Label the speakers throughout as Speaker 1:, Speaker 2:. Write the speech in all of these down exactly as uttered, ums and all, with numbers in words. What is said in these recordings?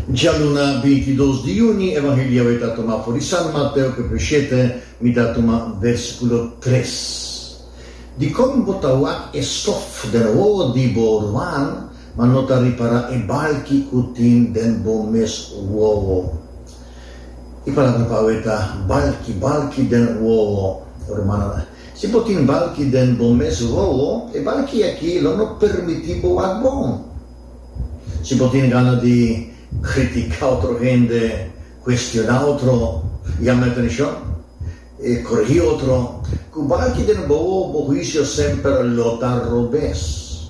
Speaker 1: Djaluna binti i dos di yüni, Evangelio awe ta tuma for di San Mateo kapítulo shete, mi ta tuma versíkulo tres. Dikon bo ta wak e stof den wowo di bo ruman, ma no ta ripará e balki ku tin den bo mes wowo? E palabra pa awe ta balki, balki den wowo. Rumannan, si bo tin balki den bo mes wowo, e balki aki lo no permití bo wak bon. Si bo tin gana di kritiká otro hende, kuestioná otro, yama atenshon, korigí otro, ku balki den bo wowo, bo huisio semper lo ta robes.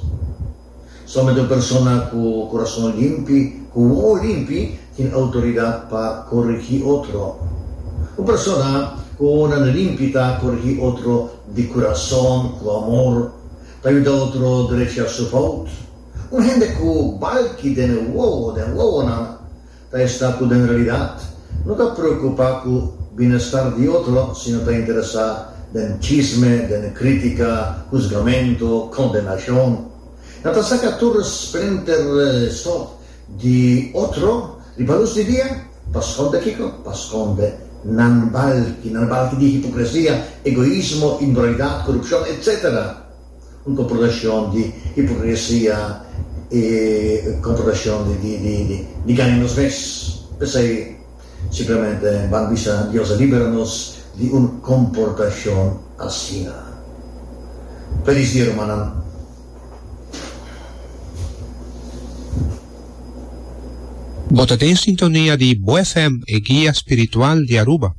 Speaker 1: Solamente un persona ku kurason limpi, ku wowo limpi, tin outoridat pa korigí otro. Un persona ku wowonan limpi ta korigí otro di kurason, ku amor, ta yuda otro drecha su fout. Un hende ku balki den e wowo, den wowonan, ta esta ku den realidat no ta preokupá ku bienestar di otro, sino ta interesá den chisme, den krítika, husgamentu, kondenashon. Nan ta saka tur splinter stof di otro riba lus di dia pa skonde kiko? Pa skonde nan balki, nan balki di hipokresia, egoismo, inmoralidat, korupshon, etsetera. Un komportashon di hipokresia i komportashon di di di di gaña nos mes. P'esei simplemente ban bisa Dios a libera nos di un komportashon asina. Felis dia, rumannan.
Speaker 2: Bo ta den sintonia di Bo F M, e guia spiritual di Aruba.